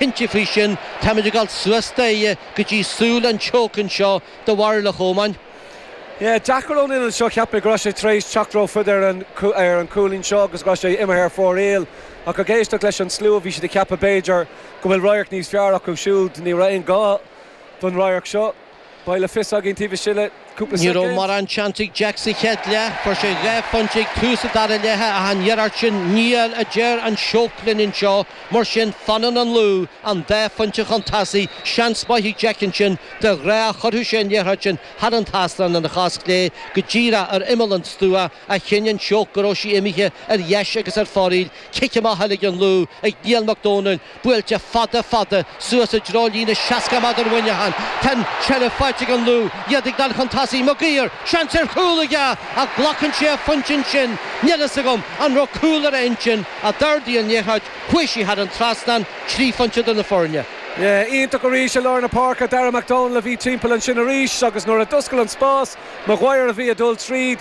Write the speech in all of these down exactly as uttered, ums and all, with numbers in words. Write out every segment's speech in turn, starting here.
Cinnte faoi sin, táimid ag dul suas daoithe go dtí súil an tseoc anseo do Bhaile Chomáin. Yeah, deacair ón ionad seo cheap mé go raibh sé tar éis teacht rófhada ar an ar an cúilín seo agus go raibh sé imithe ar fóraoil ach ag éisteacht leis an slua bhí siad ag ceapadh b'fhéidir go bhfuil radharc níos fearr acu siúd ní raibh aon gá don radharc seo. Beidh le fios againn taobh istigh le cúpla Ní raibh mórán seans ag Jack sa chéad leath, fuair sé dhá phointe ag tús an dara leatha ach an iarracht sin níl a deir an seoc linn anseo, mar sin fanann an Lú an dá phointe chun tosaigh, seans maith ag Jack ansin de ghnáth chuirfeadh sé an liathróid sin thar an trasnán ina chos chlé go díreach ar imeall an stua ach chinn an seoc go raibh sí imithe ar dheis agus ar fóraoil, cic amach eile ag an Lú ag Niall Mac Dónaill, buailte fada fada suas i dtreo líne seasca méadar Mhuineacháin. Tá an tseilbh faighte ag an Lú, iad ag dul chun tosaigh, Maguire, seans ar chúl aige ach glacann sé a phointe ansin, níl fhios agam an raibh cúl ar a intinn, ach d'ardaigh an liathróid, chuaigh sí thar an trasnán, trí phointe do na foirne. Yeah, iontach arís i lár na páirce Dara MacDonald a bhí timpeall ansin arís agus nuair a d'oscail an spás Maguire a bhí ag dul tríd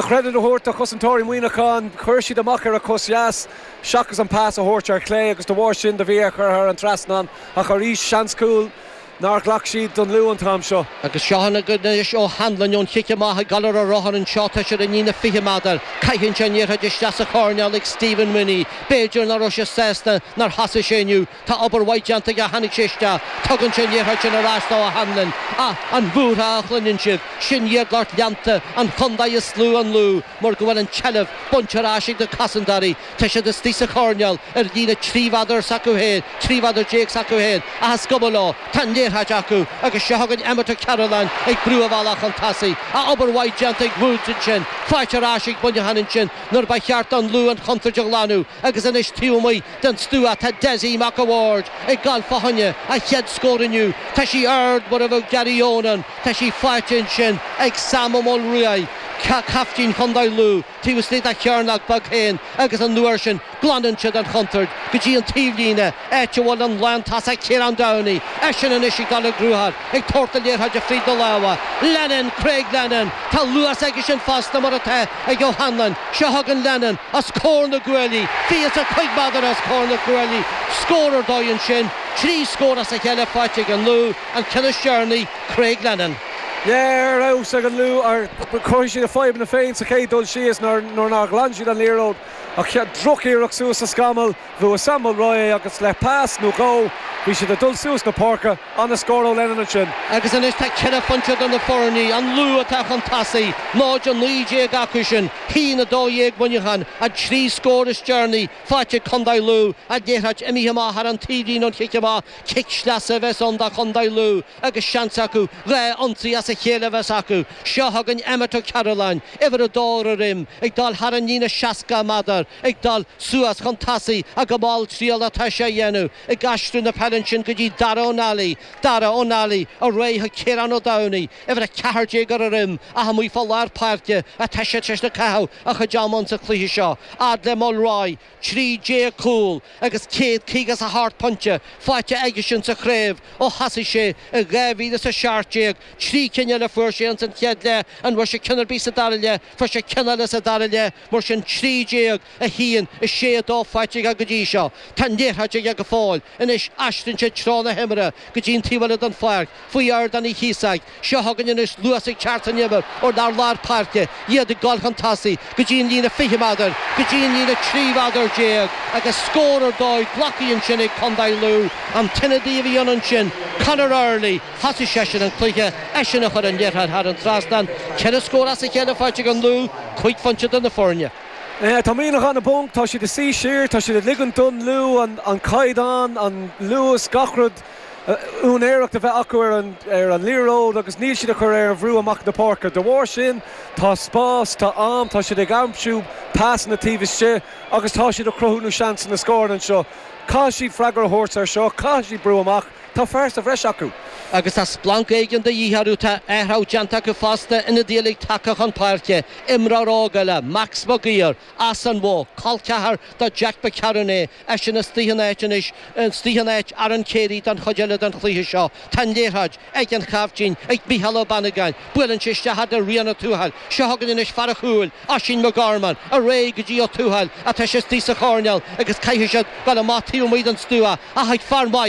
credit a thabhairt do chosantóirí Mhuineacháin, chuir siad amach ar a cos dheas seachas an pas a thabhairt ar chlé agus de bharr sin do bhí ar chur thar an trasnán ach arís seans cúl nár ghlac siad don Lú an t-am seo. Agus seo anois O'Hanlon ón chic amach ag dul ar a rothar anseo tá sé ar an líne fiche méadar, caitheann sé an liathróid isteach sa choirnéal ag Stephen Mooney. B'fhéidir nach raibh sé sásta nár thosaigh sé inniu. Tá obair mhaith déanta aige tháinig sé isteach, tugann sé an liathróid sin ar ais do O'Hanlon. Ach an bhúrtha a chluineann sibh, sin iad lucht leanta an chontae is lú an Lú mar go bhfuil an tseilbh bainte ar ais ag na cosantóirí. Tá siad istigh sa choirnéal ar líne trí mhéadar s'acu féin, trí mhéadar déag s'acu féin, ach is cuma leo, tá an liathróid acu agus seo chugainn Emmet Ó Cearúlláin ag brú a bhealach chun tosaigh. Ach obair mhaith déanta ag Woods ansin, faighte ar ais ag Muineachán ansin nuair ba cheart don Lú an chontúirt a ghlanadh agus anois taobh amuigh den stua tá Dessie Mac a' Bhaird ag dul fá choinne a chéad scór inniu. Tá sí ard mar a bheadh Gary Onan, tá sí faighte ansin ag Sam Ó Maolruaidh, caiftín Chontae Lú, taobh istigh dá chearnóg beag féin agus an uair sin glanann siad an chontúirt go dtí an taobhlíne, áit a bhfuil an lántosach Ciarán Downey, eisean anois ag dul i gcruthar, ag tabhairt na liathróide fríd na lámha. Lennon, Craig Lennon, tá luas aige sin fosta mar atá ag O'Hanlon, seo chugainn Lennon os comhair na gcuaillí, fiche is a cúig méadar os comhair na gcuaillí, scór ar dóigh ansin, trí scór as a chéile faighte ag an Lú, an ceann is deireanaí, Craig Lennon. Yeah, ar fheabhas ag an Lú ar chruthaigh siad a fadhbanna féin sa chéad dul síos nuair nár ghlan siad an liathróid ach drochiarracht suas sa scamall bhuaigh Sam Mulroy agus le pas nó dhó bhí siad ag dul suas na páirce an-scór ó Lennon ansin. Agus anois tá ceithre phointe idir na foirne, an Lú atá chun tosaigh, náid a naoi déag acu sin, haon a dó dhéag Muineachán, an trí scór is deireanaí faighte ag Contae Lú, an liathróid imithe amach thar an taobhlíne ón chic amach, cic sleasa a bheas ann do Chontae Lú agus seans acu dhá ionsaí as a chéile a bheas acu. Seo chugainn Emmet Ó Cearúlláin, uimhir a dó ar a dhroim, ag dul thar an líne seasca méadar, ag dul suas chun tosaigh ach go malltriallach atá sé a dhéanamh, ag aistriú na peile ansin go dtí Dara Ó Nally, Dara Ó Nally ar aghaidh chuig Ciarán Ó Domhnaigh, uimhir a ceathair déag ar a dhroim, ach amuigh fá lár páirce atá sé tar éis caitheamh a chuid ama sa chluiche seo. Fhad le Mulroy, trí déag cúl agus céad caoga is a hocht pointe faighte aige sin sa chraobh ó thosaigh sé i dhá mhíle is a seacht déag, trí cinn eile fuair sé ins an chéad leath, an bhfuair sé ceann ar bith sa dara leath, fuair sé ceann eile sa dara leath, mar sin trí déag, a haon, a sé, a dó faighte aige go dtí seo. Tá an liathróid aige go fóill anois, aistríonn sé treo na himeartha go dtí an taobh eile den pháirc, faoi Ardán Uí Chíosóg. Seo chugainn anois luas ag teacht san imirt ó lár lár páirce, iad ag dul chun tosaigh go dtí an líne fiche méadar, go dtí an líne trí mhéadar déag agus scór ar dóigh glactha ansin ag Contae Lú. An t-ionadaí a bhí ann ansin, Conor Early, thosaigh seisean an cluiche, eisean a chuir an liathróid thar an trasnán. Ceithre scór as a chéile faighte ag an Lú, cúig phointe idir na foirne. Tá Muineachán i bponc, tá siad ag suí siar, tá siad ag ligean don Lú an an caighdeán, an luas, gach rud, úinéireacht a bheith acu ar an ar an liathróid agus níl siad ag cur aon bhrú amach na páirce. De bharr sin tá spás, tá am, tá siad ag aimsiú pasanna taobh istigh agus tá siad ag cruthú na seansanna scórála anseo. Caithfidh siad freagra a thabhairt ar seo, caithfidh siad brú amach. Tá fear sa bhreis acu. Agus tá splanc éigin de dhíth orthu. Tá athrú déanta acu fosta, ionadaí eile tagtha chun páirce, imreoir óg eile, Max Maguire, as an Mhódh, col ceathar do Jack McCarron é, eisean istigh in áit anois, istigh in áit Aaron Carey don chuid eile den chluiche seo. Tá an liathróid ag an chaiftín, ag Mícheál Ó Bannagáin. Buaileann sé isteach fhad le Rian Ó Tuathail. Seo chugainn anois fear an chúil, Oisín McGorman, ar aghaidh go dtí Ó Tuathail atá sé istigh sa choirnéal agus caithfidh siad dul amach taobh amuigh den stua ach ag fear maith